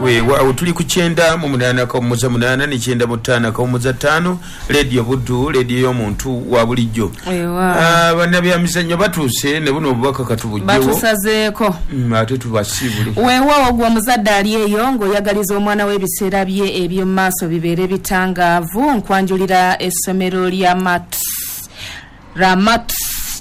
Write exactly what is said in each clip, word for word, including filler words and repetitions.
Weewaawo, tuli ku kyenda mu munaana kawummuza munaana ne kyenda mu ttaano kawummuza ttaano, Leediyo Buddu, leediyo y'omuntu wa bulijjo. Weewaawo. Ah, bannabyamizannyo batuuse ne buno obubaka katubugyewo. Batusazeeko. Mm, ate tubasiibule. Weewaawo, gwe omuzadde ali eyo ng'oyagaliza omwana w'ebiseera bye eby'omu maaso bibeere bitangaavu, nkwanjulira essomero lya Mat Ramat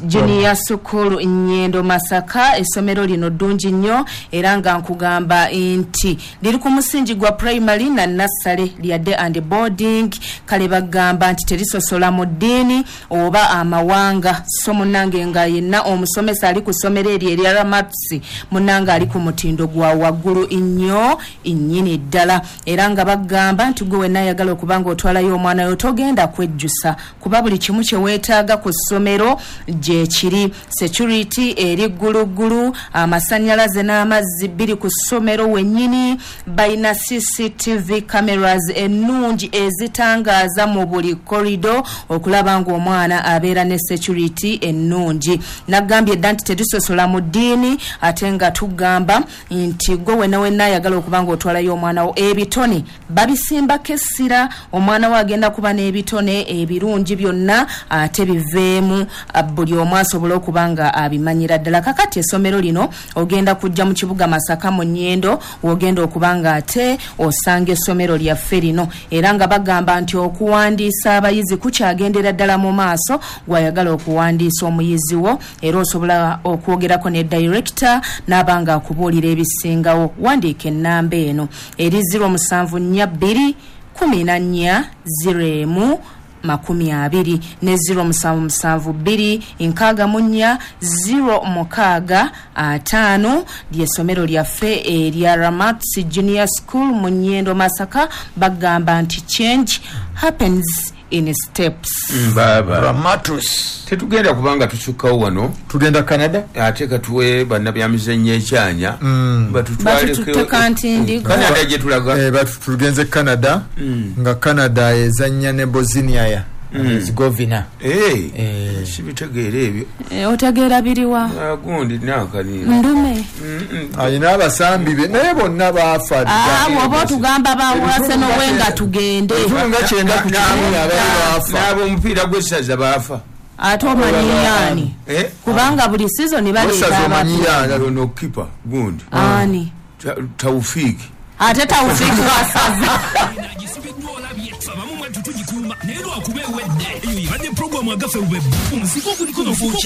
Junior School, Nyendo, Masaka. Essomero lino ddungi nnyo era nga nkugamba nti liri ku musingi gwa primary na nursery, lya day and boarding. Kale bagamba nti terisosola mu ddiini oba amawanga. So munnange nga yenna omusomesa ali ku ssomero eryo erya Ramats, munnange ali ku mutindo gwa waggulu nnyo nnyini ddala. Era nga bagamba nti gwe wenna ayagala okuba nga otwalayo omwana yo, togenda kwejjusa, kuba buli kimu kye weetaaga ku ssomero gye kiri. Security eri gguluggulu, amasannyalaze n'amazzi biri ku ssomero wennyini. Balina C C T V cameras ennungi ezitangaaza mu buli corridor okulaba ng'omwana abeera ne security ennungi. Nagambye dda nti tetusosola mu ddiini, ate nga tugamba nti gwe wenna wenna ayagala okuba ng'otwalayo omwana wo, ebitone babisimbako essira. Omwana wo agenda kuba n'ebitone ebirungi byonna, ate biveemu ah, buli omu asobole okuba nga abimanyira ddala. Kakati essomero lino ogenda kujja mu kibuga Masaka mu Nyendo, wogenda okuba nga ate osanga essomero lyaffe lino. Era nga bagamba nti okuwandiisa abayizi kukyagendera ddala mu maaso. Gwayagala okuwandiisa omuyizi wo, era osobola okwogerako ne director n'aba nga akubuulira ebisingawo. Wandiika ennamba eno eri zero musanvu nnya bbiri kumi na nnya zero emu makumi abiri ne zero musanvu musanvu bbiri nkaaga mu nnya zero mukaaga ataano. Ly'essomero lyaffe erya Ramats Junior School mu Nyendo, Masaka. Bagamba nti change happens in steps. Baaba. Ramatus. Tetugenda kubanga tusukkawo wano. Tugenda Canada. Ate katuwe bannabyamizannyo ekyanya Batututte kantindi. Canada gye tulaga. Eh, batu tugenze Canada, nga Canada ezanya ne Bosnia ya Herzegovina. Eh, Eh. sibitegeera ebyo. Eh, otegeera biriwa? Ah, gundi nakanira. Ndume. Alina abasambi be, naye bonna baafa. Ah, bw'oba otugamba bawase nowe nga tugende. Ebitundu nga kyenda ku kikumi abaali baafa. N'ab'omupiira gw'essaza baafa. Ate omanyiyaani? Eh? Kubanga buli sizoni baleeta Essaza abapya. omanyiyaani? Ono kipa gundi. Ani? Ta- taufiki Ate Taufiki wasaza? Agisibiddwa olabye abamu mwattu tugikuuma, naye lwakuba ewedde. Eyo ebadde puroguramu agafe bwe omuzigo oguliko nofuuca.